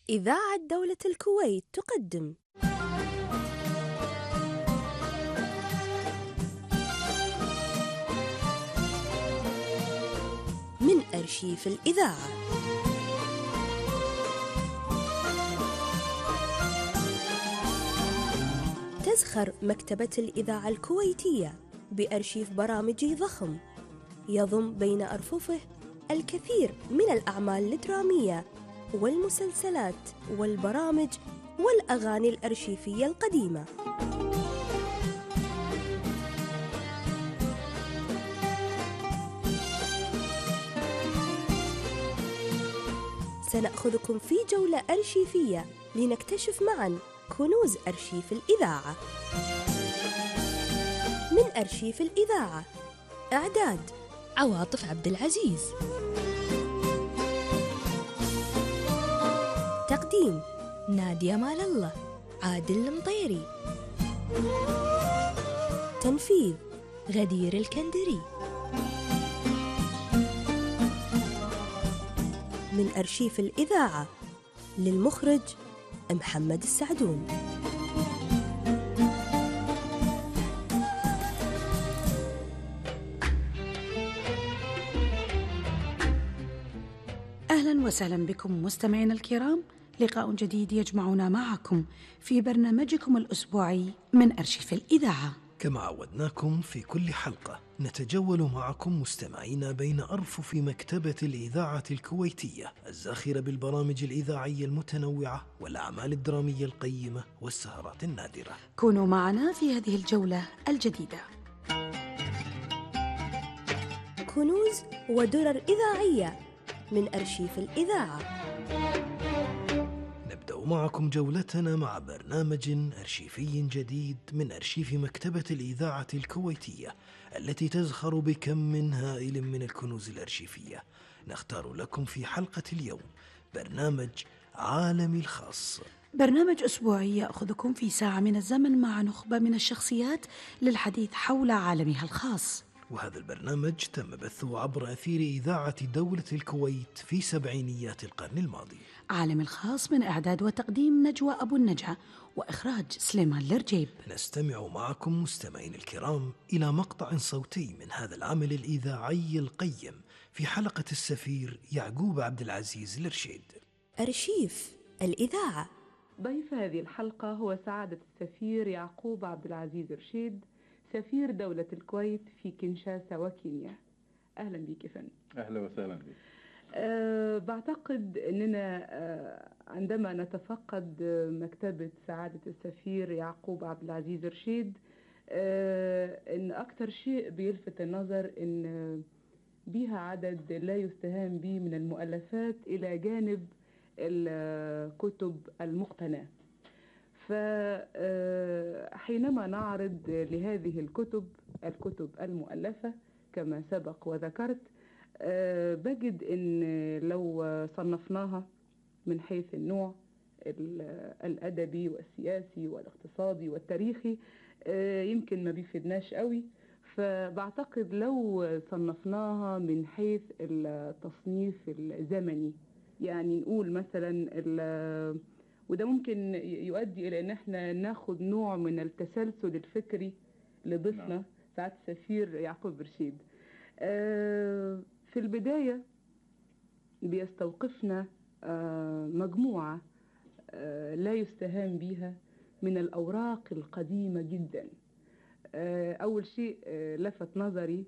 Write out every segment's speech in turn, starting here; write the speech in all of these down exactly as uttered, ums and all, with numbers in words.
إذاعة دولة الكويت تقدم من أرشيف الإذاعة. تزخر مكتبة الإذاعة الكويتية بأرشيف برامجي ضخم يضم بين أرففه الكثير من الأعمال الدرامية والمسلسلات والبرامج والأغاني الأرشيفية القديمة. سنأخذكم في جولة أرشيفية لنكتشف معاً كنوز أرشيف الإذاعة. من أرشيف الإذاعة، إعداد عواطف عبد العزيز، تقديم نادية مال الله، عادل المطيري، تنفيذ غدير الكندري. من أرشيف الإذاعة، للمخرج محمد السعدون. أهلا وسهلا بكم مستمعينا الكرام، لقاء جديد يجمعنا معكم في برنامجكم الأسبوعي من أرشيف الإذاعة. كما عودناكم في كل حلقة نتجول معكم مستمعين بين أرفف مكتبة الإذاعة الكويتية الزاخرة بالبرامج الإذاعية المتنوعة والأعمال الدرامية القيمة والسهرات النادرة. كونوا معنا في هذه الجولة الجديدة. كنوز ودرر إذاعية من أرشيف الإذاعة. نبدأ معكم جولتنا مع برنامج أرشيفي جديد من أرشيف مكتبة الإذاعة الكويتية التي تزخر بكم هائل من الكنوز الأرشيفية. نختار لكم في حلقة اليوم برنامج عالمي الخاص، برنامج أسبوعي يأخذكم في ساعة من الزمن مع نخبة من الشخصيات للحديث حول عالمها الخاص. وهذا البرنامج تم بثه عبر أثير إذاعة دولة الكويت في سبعينيات القرن الماضي. عالم الخاص من إعداد وتقديم نجوى أبو النجا، وإخراج سليمان الرجيب. نستمع معكم مستمعين الكرام إلى مقطع صوتي من هذا العمل الإذاعي القيم في حلقة السفير يعقوب عبد العزيز الرشيد. أرشيف الإذاعة. ضيف هذه الحلقة هو سعادة السفير يعقوب عبد العزيز الرشيد، سفير دولة الكويت في كينشاسا وكينيا. أهلا بك يا فندم. أهلا وسهلا بك. أه بعتقد أننا أه عندما نتفقد مكتبة سعادة السفير يعقوب عبد العزيز رشيد، أه أن أكثر شيء بيلفت النظر أن بها عدد لا يستهان به من المؤلفات إلى جانب الكتب المقتناة. فحينما نعرض لهذه الكتب الكتب المؤلفة كما سبق وذكرت، بجد أن لو صنفناها من حيث النوع الأدبي والسياسي والاقتصادي والتاريخي يمكن ما بيفيدناش قوي. فبعتقد لو صنفناها من حيث التصنيف الزمني، يعني نقول مثلا، وده ممكن يؤدي إلى أن احنا ناخد نوع من التسلسل الفكري لضيفنا نعم. سعادة السفير يعقوب رشيد. آه في البداية بيستوقفنا آه مجموعة آه لا يستهان بها من الأوراق القديمة جدا. آه أول شيء آه لفت نظري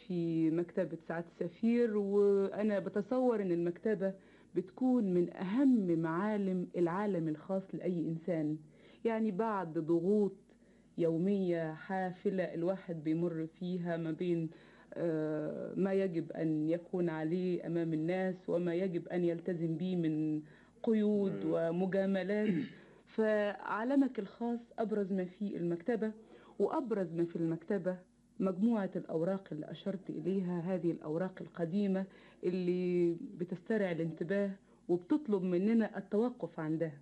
في مكتبة سعادة السفير، وأنا بتصور أن المكتبة بتكون من أهم معالم العالم الخاص لأي إنسان. يعني بعد ضغوط يومية حافلة الواحد بيمر فيها ما بين ما يجب أن يكون عليه أمام الناس وما يجب أن يلتزم به من قيود ومجاملات، فعالمك الخاص أبرز ما في المكتبة، وأبرز ما في المكتبة مجموعة الأوراق اللي أشرت إليها، هذه الأوراق القديمة اللي بتسترع الانتباه وبتطلب مننا التوقف عندها.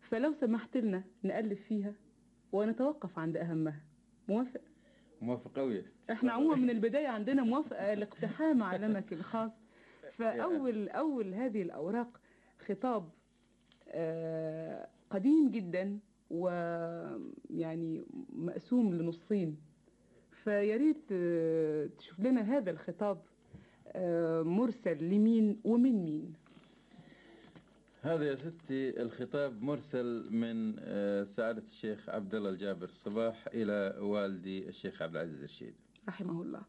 فلو سمحت لنا نألف فيها ونتوقف عند أهمها. موافق؟ موافق قوي. احنا عموما من البداية عندنا موافقة لاقتحام عالمك الخاص. فأول أول هذه الأوراق خطاب آه، قديم جدا ويعني مقسوم لنصين، فياريت آه، تشوف لنا هذا الخطاب آه، مرسل لمين ومن مين. هذا يا ستي الخطاب مرسل من آه، سعادة الشيخ عبد الله الجابر الصباح إلى والدي الشيخ عبد العزيز الرشيد رحمه الله.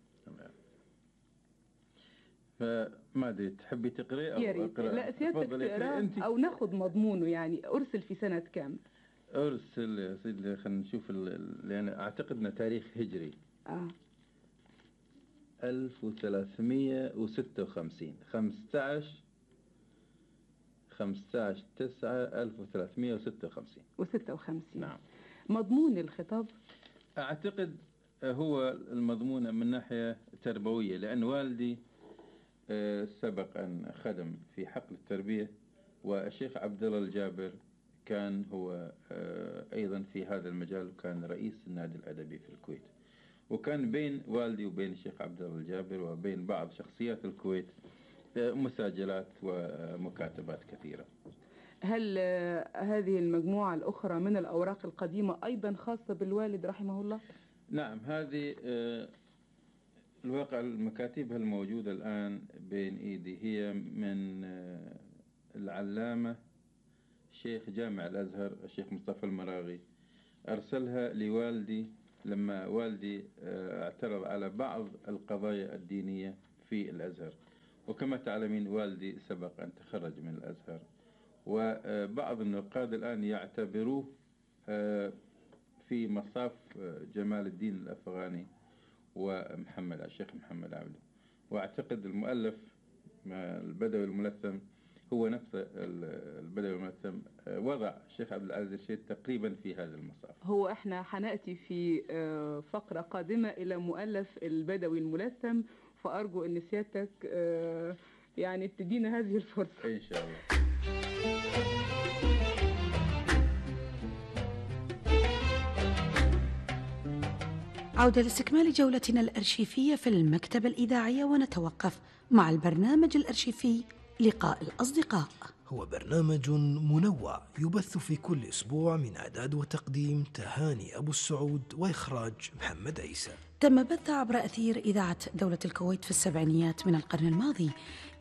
فما أدري تحبي تقري أو يا ريت. أقرأ؟ لا سيادتك تفضلي تقرأ أنت. أو ناخذ مضمونه، يعني أرسل في سنة كام؟ أرسل يا سيدي، خلينا نشوف ال- لأن أعتقد أنه تاريخ هجري آه. ألف وثلاثمية وستة وخمسين، خمسة عشر خمسة عشر تسعة ألف وثلاثمية وستة وخمسين. وستة وخمسين. نعم. مضمون الخطاب أعتقد هو المضمون من ناحية تربوية، لأن والدي آه، سبق أن خدم في حقل التربية، والشيخ عبد الله الجابر كان هو آه، أيضا في هذا المجال، وكان رئيس النادي الأدبي في الكويت. وكان بين والدي وبين الشيخ عبد الله الجابر وبين بعض شخصيات الكويت آه، مساجلات ومكاتبات كثيرة. هل آه، هذه المجموعة الأخرى من الأوراق القديمة أيضا خاصة بالوالد رحمه الله؟ نعم، هذه آه، الواقع المكاتب الموجودة الآن بين إيدي هي من آه، العلامة شيخ جامع الأزهر الشيخ مصطفى المراغي، أرسلها لوالدي لما والدي آه، اعترض على بعض القضايا الدينية في الأزهر. وكما تعلمين والدي سبق أن تخرج من الأزهر، وبعض النقاد الآن يعتبروه آه، في مصاف آه، جمال الدين الأفغاني ومحمد الشيخ محمد عبده. واعتقد المؤلف البدوي الملثم هو نفس البدوي الملثم وضع الشيخ عبد العزيز الرشيد تقريبا في هذا المصاف. هو احنا حنأتي في آه، فقرة قادمة إلى مؤلف البدوي الملثم، فأرجو أن سيادتك آه، يعني تدينا هذه الفرصة إن شاء الله. عودة لاستكمال جولتنا الأرشيفية في المكتبة الإذاعية، ونتوقف مع البرنامج الأرشيفي لقاء الأصدقاء. هو برنامج منوع يبث في كل أسبوع من إعداد وتقديم تهاني أبو السعود وإخراج محمد عيسى. تم بث عبر أثير إذاعة دولة الكويت في السبعينيات من القرن الماضي،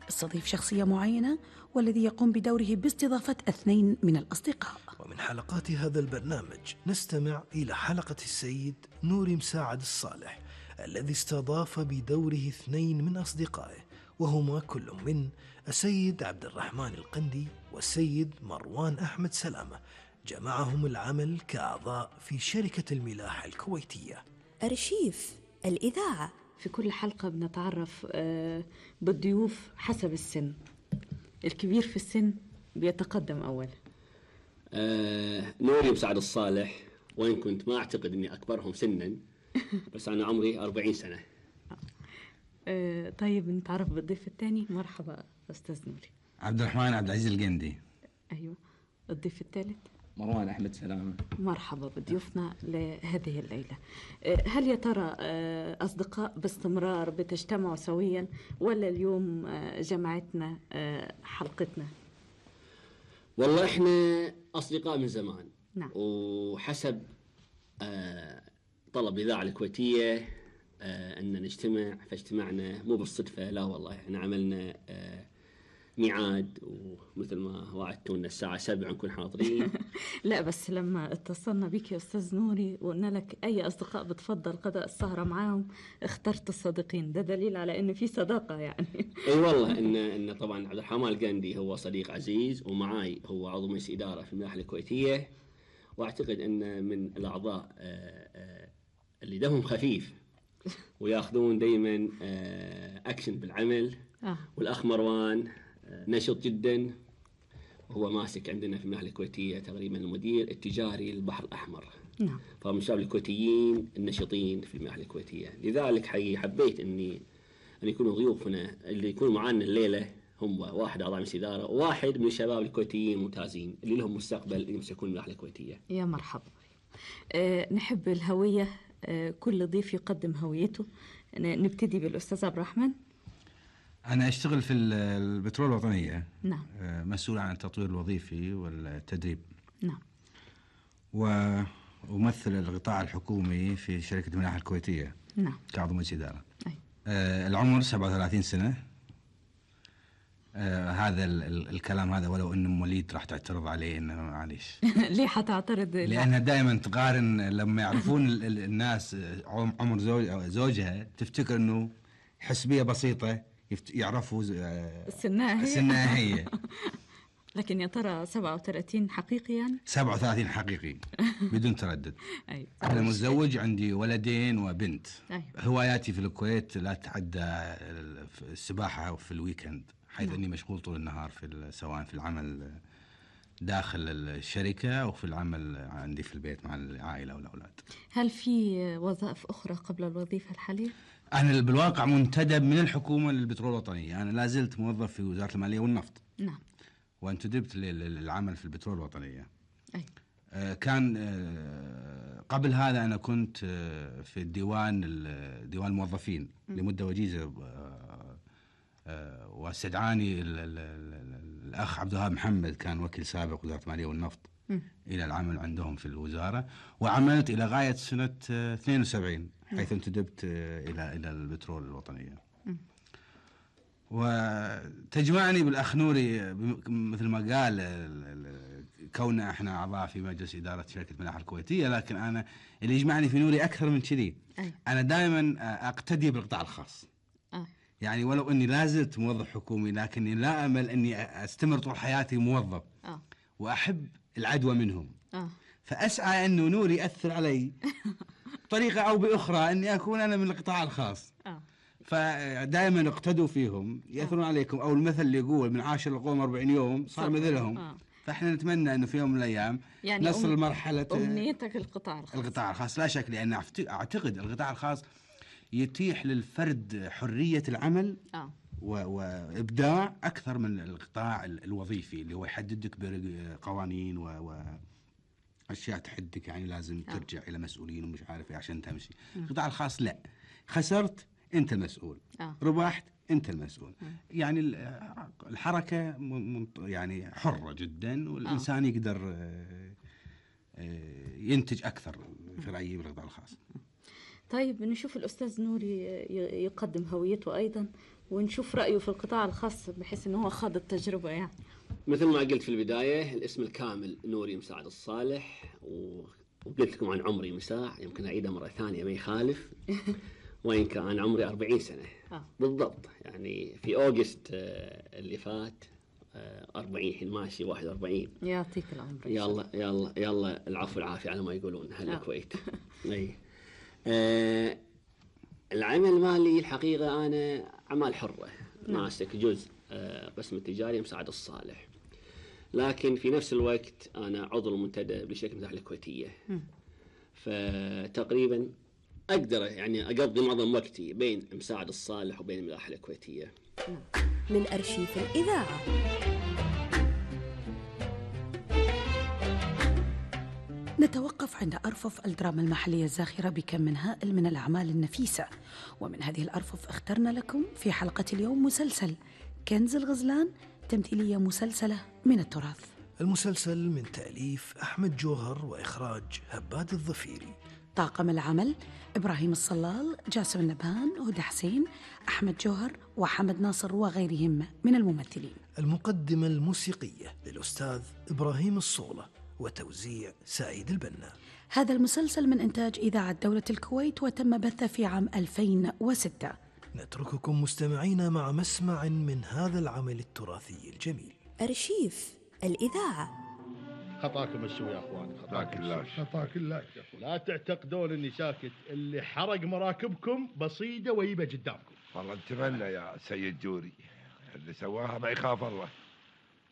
يستضيف شخصية معينة والذي يقوم بدوره باستضافة اثنين من الأصدقاء. ومن حلقات هذا البرنامج نستمع إلى حلقة السيد نوري مساعد الصالح الذي استضاف بدوره اثنين من أصدقائه، وهما كل من السيد عبد الرحمن القندي والسيد مروان أحمد سلامة، جمعهم العمل كأعضاء في شركة الملاحة الكويتية. أرشيف الإذاعة. في كل حلقة بنتعرف آه، بالضيوف حسب السن. الكبير في السن بيتقدم أول. آه، نوري مساعد الصالح، وإن كنت ما أعتقد أني أكبرهم سنا، بس أنا عمري أربعين سنة. آه، طيب نتعرف بالضيف الثاني. مرحبا أستاذ نوري. عبد الرحمن عبد العزيز القندي. أيوة. الضيف الثالث مروان أحمد سلامة. مرحبا بضيوفنا لهذه الليلة. هل يا ترى أصدقاء باستمرار بتجتمعوا سويا، ولا اليوم جمعتنا حلقتنا؟ والله إحنا أصدقاء من زمان. نعم. وحسب طلب الإذاعة الكويتية أن نجتمع، فاجتمعنا مو بالصدفة، لا والله إحنا عملنا ميعاد، ومثل ما وعدتونا الساعة سبعة نكون حاضرين. لا بس لما اتصلنا بك يا أستاذ نوري وقلنا لك أي أصدقاء بتفضل قضاء السهرة معاهم، اخترت الصديقين، ده دليل على إن في صداقة يعني. أي والله إن إن طبعا عبد الرحمن القندي هو صديق عزيز، ومعاي هو عضو مجلس إدارة في الملاحة الكويتية، وأعتقد أن من الأعضاء اللي دمهم خفيف ويأخذون دايما أكشن بالعمل. آه. والأخ مروان نشط جدا، وهو ماسك عندنا في الملاحة الكويتية تقريبا المدير التجاري للبحر الأحمر. نعم. فهم الشباب الكويتيين النشطين في الملاحة الكويتية، لذلك حقيقي حبيت إني أن يكونوا ضيوفنا اللي يكونوا معنا الليلة هم واحد أعضاء مجلس إدارة، وواحد من الشباب الكويتيين الممتازين اللي لهم مستقبل يمسكون الملاحة الكويتية. يا مرحبا. أه نحب الهوية، أه كل ضيف يقدم هويته. نبتدي بالأستاذ عبد الرحمن. أنا أشتغل في ال- البترول الوطنية. نعم. آه، مسؤول عن التطوير الوظيفي والتدريب. نعم. وأمثل القطاع الحكومي في شركة الملاحة الكويتية. نعم. كعضو مجلس إدارة. أي. آه، العمر سبعة وثلاثين سنة. آه، هذا ال- ال- الكلام هذا ولو إن أم وليد راح تعترض عليه إنه معليش. ليه حتعترض؟ لأنها دائما تقارن لما يعرفون ال- ال- الناس عم- عمر زوج زوجها تفتكر إنه حسبية بسيطة يفت- يعرفوا ز- آه، سنها هي. سنها هي. لكن يا ترى سبعة وثلاثين حقيقي يعني؟ سبعة وثلاثين حقيقي بدون تردد. أي. أنا متزوج، عندي ولدين وبنت. أي. هواياتي في الكويت لا تتعدى السباحة في الويكند، حيث نعم. أني مشغول طول النهار في ال- سواء في العمل داخل الشركة أو في العمل عندي في البيت مع العائلة والأولاد. هل في وظائف أخرى قبل الوظيفة الحالية؟ أنا بالواقع منتدب من الحكومة للبترول الوطنية. أنا لا زلت موظف في وزارة المالية والنفط. نعم. وانتدبت للعمل في البترول الوطنية. أي. آه، كان آه، قبل هذا أنا كنت آه، في الديوان ال- ديوان الموظفين لمدة وجيزة. آه، آه، واستدعاني ال- ال- ال- الأخ عبد الوهاب محمد، كان وكيل سابق وزارة المالية والنفط، مم. إلى العمل عندهم في الوزارة، وعملت إلى غاية سنة آه، اثنين وسبعين حيث انتدبت آه، إلى إلى البترول الوطنية. مم. وتجمعني بالأخ نوري بم- مثل ما قال ال- ال- كوننا احنا أعضاء في مجلس إدارة شركة الملاحة الكويتية، لكن أنا اللي يجمعني في نوري أكثر من كذي. أي. أنا دائما أقتدي بالقطاع الخاص. آه. يعني ولو أني لازلت موظف حكومي، لكني لا أمل أني أستمر طول حياتي موظف، آه. وأحب العدوى منهم. آه. فأسعى أنه نوري يأثر علي بطريقة أو بأخرى أني أكون أنا من القطاع الخاص. آه. فدائما اقتدوا فيهم يأثرون عليكم، أو المثل اللي يقول من عاشر القوم أربعين يوم صار صح. مثلهم. آه. فإحنا نتمنى أنه في يوم من الأيام يعني نصل أم- لمرحلة أمنيتك القطاع الخاص. القطاع الخاص، لا شك، لأن أعت- أعتقد القطاع الخاص يتيح للفرد حرية العمل آه. و- وإبداع أكثر من القطاع ال- الوظيفي اللي هو يحددك بقوانين و... وأشياء تحدك، يعني لازم آه. ترجع إلى مسؤولين ومش عارف إيه عشان تمشي. القطاع الخاص لا، خسرت أنت المسؤول، آه. ربحت أنت المسؤول. آه. يعني ال- الحركة م- م- يعني حرة جدا، والإنسان يقدر آه، آه، ينتج أكثر في رأيي بالقطاع الخاص. طيب نشوف الأستاذ نوري ي- يقدم هويته أيضا، ونشوف رأيه في القطاع الخاص بحيث أنه هو خاض التجربة يعني. مثل ما قلت في البداية، الاسم الكامل نوري مساعد الصالح، و... وقلت لكم عن عمري مساع، يمكن أعيدها مرة ثانية ما يخالف. وإن كان عمري أربعين سنة آه. بالضبط، يعني في أوغست آه، اللي فات آه، أربعين، حين ماشي واحد وأربعين. يعطيك العمر. يلا يلا يلا العفو العافية على ما يقولون أهل آه. الكويت. أي. آه، العمل المالي الحقيقة أنا أعمال حرة، ماسك جزء آه، قسم التجاري مساعد الصالح، لكن في نفس الوقت أنا عضو منتدب لشركة الملاحة الكويتية. مم. فتقريبا أقدر يعني أقضي معظم وقتي بين مساعد الصالح وبين الملاحة الكويتية. من أرشيف الإذاعة. نتوقف عند أرفف الدراما المحلية الزاخرة بكم من هائل من الأعمال النفيسة، ومن هذه الأرفف اخترنا لكم في حلقة اليوم مسلسل كنز الغزلان، تمثيلية مسلسلة من التراث. المسلسل من تأليف أحمد جوهر وإخراج هباد الظفيري. طاقم العمل إبراهيم الصلال، جاسم النبهان، هدى حسين، أحمد جوهر، وحمد ناصر وغيرهم من الممثلين. المقدمة الموسيقية للأستاذ إبراهيم الصولة، وتوزيع سعيد البنا. هذا المسلسل من إنتاج إذاعة دولة الكويت، وتم بثه في عام ألفين وستة. نترككم مستمعين مع مسمع من هذا العمل التراثي الجميل. أرشيف الإذاعة. خطاكم السوء يا اخوان، خطاك الله. خطاك الله. لا تعتقدون اني ساكت، اللي حرق مراكبكم بصيده ويبه قدامكم. والله نتمنى يا سيد جوري، اللي سواها ما يخاف الله.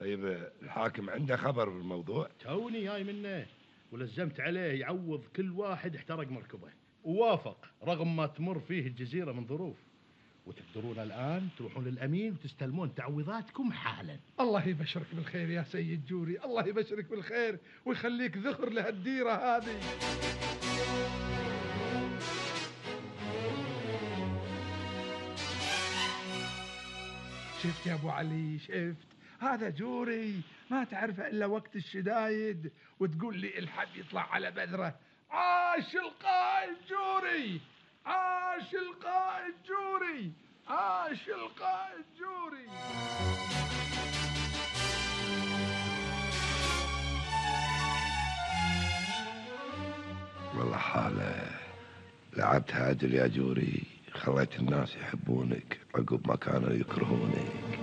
طيب الحاكم عنده خبر بالموضوع؟ توني جاي منه، ولزمت عليه يعوض كل واحد احترق مركبه، ووافق رغم ما تمر فيه الجزيرة من ظروف. وتقدرون الآن تروحون للأمين وتستلمون تعويضاتكم حالا. الله يبشرك بالخير يا سيد جوري، الله يبشرك بالخير ويخليك ذخر لهالديرة هذه. شفت يا ابو علي؟ شفت؟ هذا جوري ما تعرفه الا وقت الشدايد، وتقول لي الحب يطلع على بذره. عاش القائد جوري، عاش القائد جوري، عاش القائد جوري. والله حالة لعبت هاجل يا جوري، خليت الناس يحبونك عقب ما كانوا يكرهونك.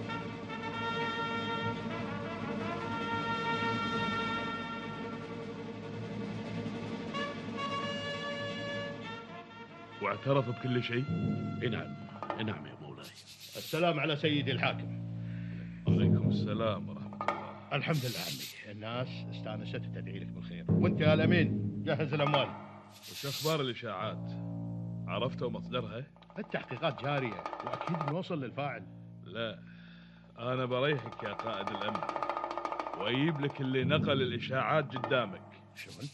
واعترف بكل شيء؟ نعم نعم يا مولاي. السلام على سيدي الحاكم. عليكم السلام ورحمة الله. الحمد لله عمي، الناس استانست تدعي لك بالخير، وانت يا الامين جهز الاموال. وش اخبار الاشاعات؟ عرفتوا مصدرها؟ التحقيقات جارية واكيد بنوصل للفاعل. لا، انا بريحك يا قائد الامن واجيب لك اللي نقل الاشاعات قدامك. شلون؟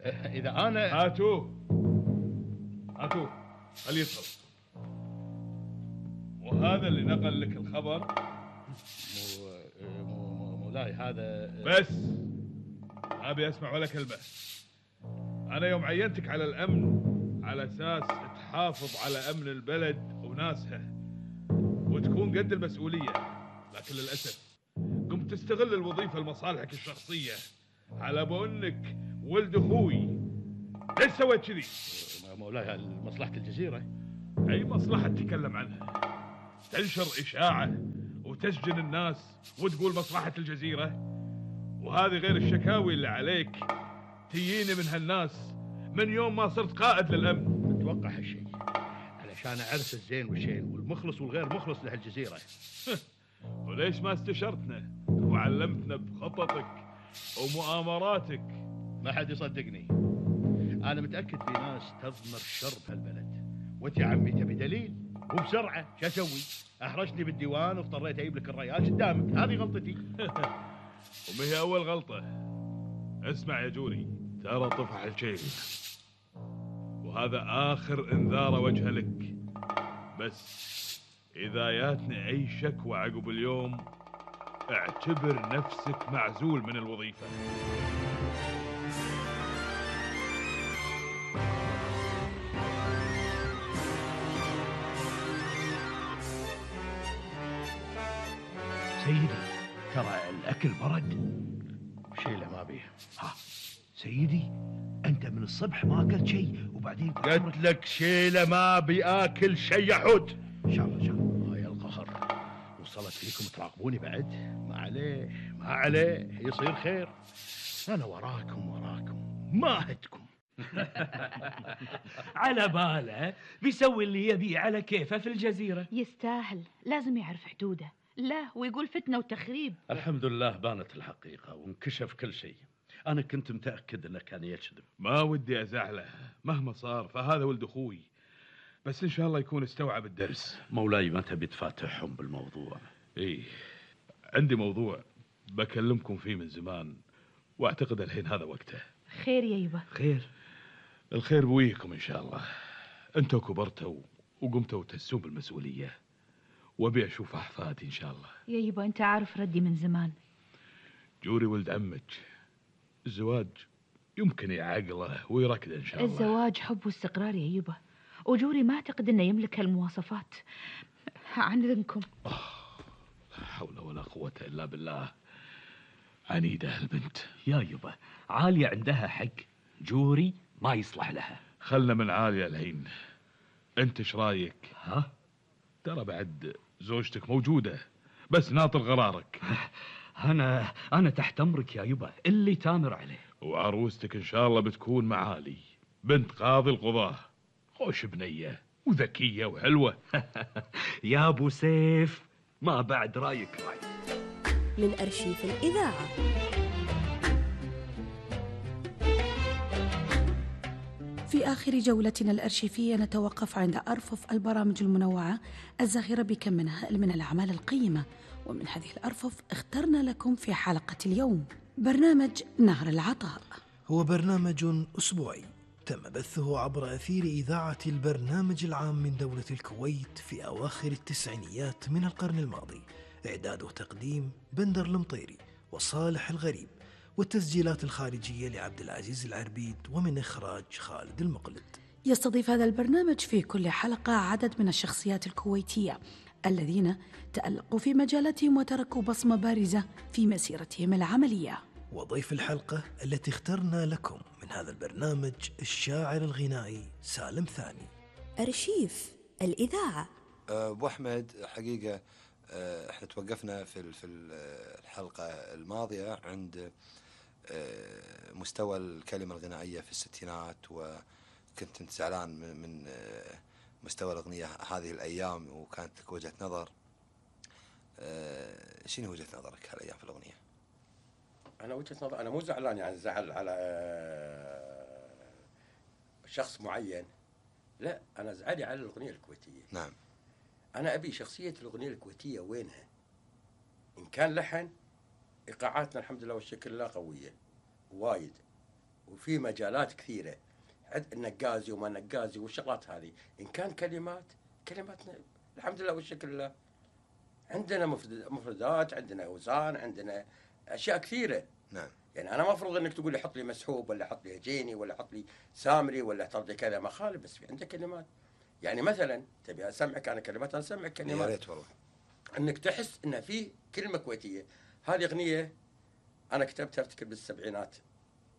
اذا انا هاتوه هاتوه خليه يدخل. وهذا اللي نقل لك الخبر. مو مو مولاي هذا بس ما ابي اسمع ولا كلمه. انا يوم عينتك على الامن على اساس تحافظ على امن البلد وناسها وتكون قد المسؤوليه، لكن للاسف قمت تستغل الوظيفه لمصالحك الشخصيه على بانك ولد اخوي. ليش سويت كذي؟ مولاي مصلحه الجزيره. اي مصلحه تتكلم عنها؟ تنشر اشاعه وتسجن الناس وتقول مصلحه الجزيره؟ وهذه غير الشكاوي اللي عليك تجيني من هالناس من يوم ما صرت قائد للامن. اتوقع هالشيء علشان اعرف الزين والشين والمخلص والغير مخلص لهالجزيره. وليش ما استشرتنا وعلمتنا بخططك ومؤامراتك؟ ما حد يصدقني. انا متاكد في ناس تضمر الشر بهالبلد، وانت يا عمي تبي دليل وبسرعه. شو اسوي؟ احرجني بالديوان واضطريت اجيب لك الريال قدامك. هذه غلطتي. وما هي اول غلطه. اسمع يا جوري، ترى طفح الشيل وهذا اخر انذار وجه لك. بس اذا جاتني اي شكوى عقب اليوم اعتبر نفسك معزول من الوظيفه. سيدي ترى الأكل برد. شيله ما بيه. ها سيدي أنت من الصبح ما أكلت شيء وبعدين قلت لك شيله ما بياكل شيء يا حود. إن شاء الله إن شاء الله. هاي القهر وصلت فيكم تراقبوني بعد؟ ما عليه ما عليه، يصير خير. أنا وراكم وراكم ما هدكم. على باله بيسوي اللي يبيه على كيفه في الجزيرة. يستاهل، لازم يعرف حدوده. لا ويقول فتنة وتخريب. الحمد لله بانت الحقيقة وانكشف كل شيء. أنا كنت متأكد أنه كان يكذب. ما ودي أزعله مهما صار، فهذا ولد أخوي، بس إن شاء الله يكون استوعب الدرس. مولاي ما تبي تفاتحهم بالموضوع؟ إيه عندي موضوع بكلمكم فيه من زمان وأعتقد الحين هذا وقته. خير يا يبا. خير الخير بويكم إن شاء الله. أنتوا كبرتوا وقمتوا تحسون بالمسؤولية وأبي أشوف أحفادي إن شاء الله. يا يبا أنت عارف ردي من زمان. جوري ولد عمك، الزواج يمكن يعقله ويركده إن شاء الله. الزواج حب واستقرار يا يبا، وجوري ما أعتقد أنه يملك هالمواصفات. عن إذنكم. لا حول ولا قوة إلا بالله. عنيدة البنت. يا يبا عالية عندها حق، جوري ما يصلح لها. خلنا من عالية الحين. أنت إيش رايك؟ ها؟ ترى بعد زوجتك موجودة بس ناطر قرارك. أنا أنا تحت أمرك يا يبا، اللي تامر عليه. وعروستك إن شاء الله بتكون معالي، بنت قاضي القضاة، خوش بنية وذكية وحلوة. يا أبو سيف ما بعد رايك راي. من أرشيف الإذاعة. في آخر جولتنا الأرشيفية نتوقف عند أرفف البرامج المنوعة الزاخرة بكم منها من الأعمال القيمة، ومن هذه الأرفف اخترنا لكم في حلقة اليوم برنامج نهر العطاء. هو برنامج أسبوعي تم بثه عبر أثير إذاعة البرنامج العام من دولة الكويت في أواخر التسعينيات من القرن الماضي. إعداد وتقديم بندر المطيري وصالح الغريب، والتسجيلات الخارجية لعبد العزيز العربيد، ومن إخراج خالد المقلد. يستضيف هذا البرنامج في كل حلقة عدد من الشخصيات الكويتية الذين تألقوا في مجالاتهم وتركوا بصمة بارزة في مسيرتهم العملية. وضيف الحلقة التي اخترنا لكم من هذا البرنامج الشاعر الغنائي سالم ثاني. أرشيف الإذاعة. أبو أحمد، حقيقة احنا توقفنا في في الحلقة الماضية عند مستوى الكلمة الغنائية في الستينات، وكنت انت زعلان من مستوى الأغنية هذه الأيام، وكانت لك وجهة نظر. شنو وجهة نظرك هالأيام في الأغنية؟ أنا وجهة نظر، أنا مو زعلان يعني زعل على شخص معين، لا أنا زعلي على الأغنية الكويتية. نعم. أنا أبي شخصية الأغنية الكويتية وينها؟ إن كان لحن، إيقاعاتنا الحمد لله والشكر لله قوية وايد، وفي مجالات كثيرة، النقازي وما نقازي والشغلات هذه. إن كان كلمات، كلماتنا الحمد لله والشكر لله عندنا مفردات، عندنا أوزان، عندنا أشياء كثيرة. نعم. يعني أنا ما أفرض إنك تقول لي حط لي مسحوب، ولا حط لي هجيني، ولا حط لي سامري، ولا حط لي كذا، ما خالف، بس في عندك كلمات. يعني مثلا تبي أسمعك أنا كلمات، أنا أسمعك كلمات. يا ريت والله. إنك تحس إن في كلمة كويتية. هذه أغنية أنا كتبتها أفتكر بالسبعينات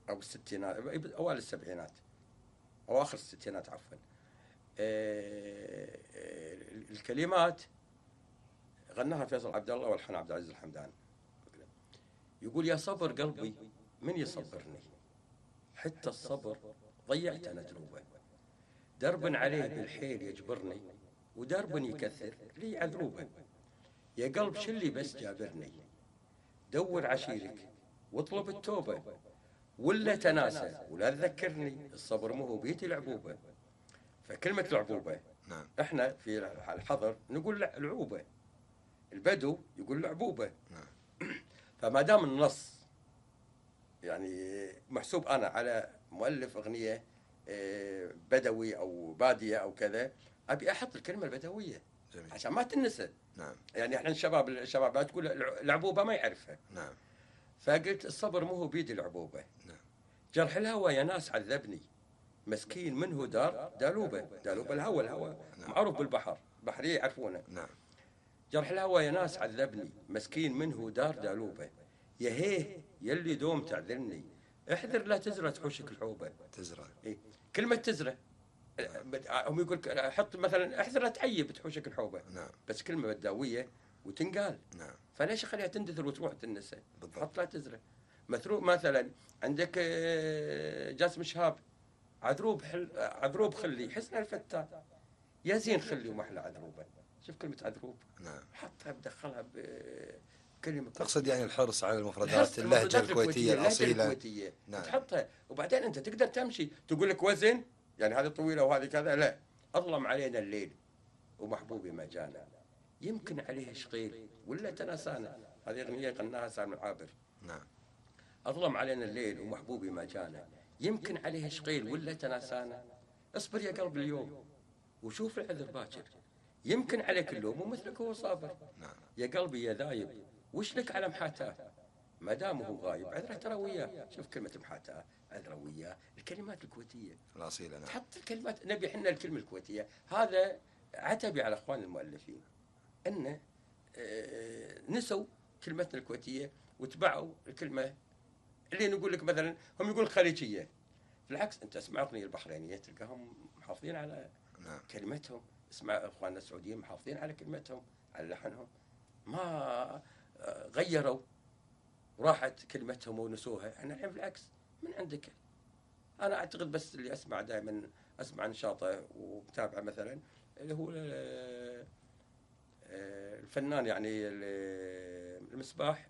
أو بالستينات، أوائل السبعينات أو آخر الستينات عفوا. الكلمات غناها فيصل عبد الله والحان عبد العزيز الحمدان. يقول يا صبر قلبي من يصبرني، حتى الصبر ضيعت أنا دروبه، درب عليه بالحيل يجبرني، ودرب يكثر لي عذروبه. يا قلب شلي بس جابرني، دور عشيرك واطلب التوبة، ولا تناسى ولا تذكرني، الصبر مو هو بيتي العبوبة. فكلمة العبوبة، نعم، احنا في الحضر نقول العوبة، البدو يقول العبوبة. نعم. فما دام النص يعني محسوب أنا على مؤلف أغنية بدوي أو بادية أو كذا، أبي أحط الكلمة البدوية. جميل. عشان ما تنسى. نعم. يعني احنا الشباب الشباب تقول العبوبة ما يعرفها. نعم. فقلت الصبر مو هو بيدي العبوبة. نعم. جرح الهوى يا ناس عذبني، مسكين منه دار دالوبة، دالوبة الهوى، الهوى نعم. معروف بالبحر، بحرية يعرفونه. نعم. جرح الهوى يا ناس عذبني، مسكين منه دار دالوبة، يا هيه يلي دوم تعذرني، احذر لا تزرع تحوشك الحوبة. تزرع. إيه؟ كلمة تزرع هم يقول حط مثلا احذر لا تعيب تحوشك الحوبة. نعم. بس كلمة بداوية وتنقال. نعم. فليش اخليها تندثر وتروح تنسى؟ بالضبط. حط لا تزرع. مثروب مثلا عندك جاسم شهاب، عذروب حل... عذروب خلي حسن الفتان، يا زين خلي ومحلى عذروبه. شوف كلمة عذروب. نعم. حطها بدخلها بكلمة. تقصد يعني الحرص على المفردات، اللهجة الكويتية الأصيلة. الكويتية. نعم. تحطها وبعدين أنت تقدر تمشي، تقول لك وزن يعني هذه طويلة وهذه كذا، لا. أظلم علينا الليل ومحبوبي ما جانا، يمكن عليه شقيل ولا تناسانا. هذه أغنية غناها سالم العابر. نعم. أظلم علينا الليل ومحبوبي ما جانا، يمكن عليه شقيل ولا تناسانا، اصبر يا قلب اليوم وشوف العذر باكر، يمكن عليك اللوم ومثلك هو صابر. نعم. يا قلبي يا ذايب وش لك على محاتاه، ما دام هو غايب عذره ترى وياه. شوف كلمة محاتاه، عذره وياه، الكلمات الكويتية الأصيلة. نعم. تحط الكلمات، نبي احنا الكلمة الكويتية. هذا عتبي على اخوان المؤلفين انه اه نسوا كلمتنا الكويتية وتبعوا الكلمة اللي نقول لك مثلا هم يقول خليجية. بالعكس انت اسمع اغنية البحرينية تلقاهم محافظين على نعم. كلمتهم، اسمع اخواننا السعوديين محافظين على كلمتهم على لحنهم، ما غيروا وراحت كلمتهم ونسوها. احنا الحين بالعكس من عندك. انا اعتقد بس اللي اسمع دائما اسمع نشاطه ومتابعه مثلا اللي هو الفنان يعني المصباح،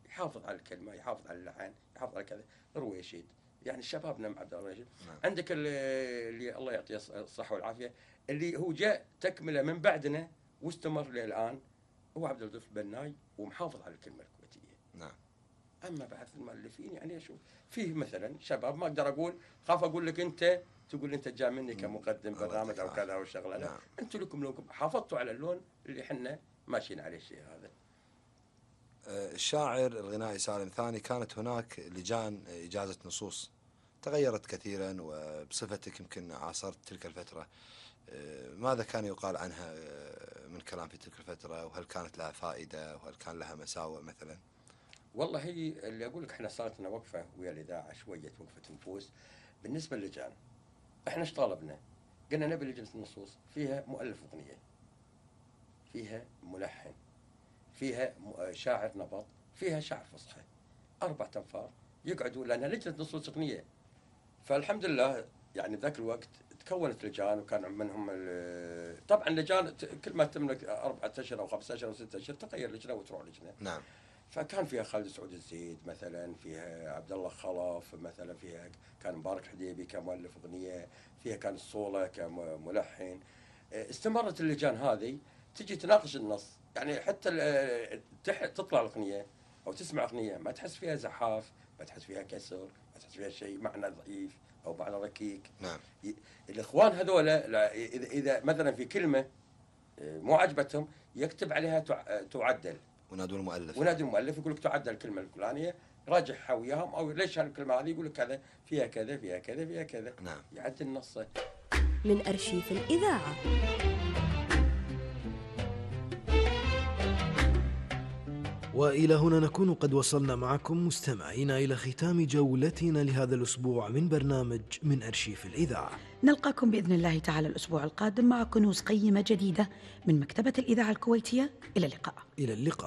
يحافظ على الكلمه، يحافظ على اللحن، يحافظ على كذا. رويشيد يعني شبابنا مع عبد الله رويشيد. نعم. عندك اللي الله يعطيه الصحه والعافيه اللي هو جاء تكمله من بعدنا واستمر للان، هو عبد اللطيف البناي، ومحافظ على الكلمه الكويتيه. نعم. أما بعض المؤلفين يعني أشوف فيه مثلا شباب ما أقدر أقول خاف أقول لك أنت تقول أنت جاء مني كمقدم برنامج أو كذا أو شغلة، لا أنتم لكم لكم حافظتوا على اللون اللي إحنا ماشيين عليه الشيء هذا. الشاعر الغنائي سالم ثاني، كانت هناك لجان إجازة نصوص تغيرت كثيرا، وبصفتك يمكن عاصرت تلك الفترة، ماذا كان يقال عنها من كلام في تلك الفترة، وهل كانت لها فائدة وهل كان لها مساوئ مثلا؟ والله هي اللي أقول لك إحنا صارت لنا وقفة ويا الإذاعة شوية وقفة نفوس. بالنسبة للجان إحنا إيش طالبنا؟ قلنا نبي لجنة النصوص فيها مؤلف أغنية، فيها ملحن، فيها شاعر نبط، فيها شاعر فصحى، أربع أنفار يقعدوا، لأنها لجنة نصوص أغنية. فالحمد لله يعني ذاك الوقت تكونت لجان، وكان منهم طبعا لجان كل ما تملك أربعة أشهر أو خمسة أشهر أو ستة أشهر تغير لجنة وتروح لجنة. نعم. فكان فيها خالد سعود الزيد مثلا، فيها عبد الله خلف مثلا، فيها كان مبارك حديبي كمؤلف أغنية، فيها كان الصولة كملحن. استمرت اللجان هذه تجي تناقش النص، يعني حتى تطلع الأغنية أو تسمع أغنية ما تحس فيها زحاف، ما تحس فيها كسر، ما تحس فيها شيء معنى ضعيف أو معنى ركيك. نعم. الإخوان هذولا إذا إذا مثلا في كلمة مو عجبتهم يكتب عليها تعدل، ونادوا المؤلف ونادوا المؤلف يقول لك تعدل الكلمة الفلانية، راجعها وياهم، أو ليش هالكلمة هذه يقول لك كذا فيها كذا فيها كذا فيها كذا. نعم. يعدل نصه. من أرشيف الإذاعة. وإلى هنا نكون قد وصلنا معكم مستمعينا إلى ختام جولتنا لهذا الأسبوع من برنامج من أرشيف الإذاعة. نلقاكم بإذن الله تعالى الأسبوع القادم مع كنوز قيمة جديدة من مكتبة الإذاعة الكويتية. إلى اللقاء. إلى اللقاء.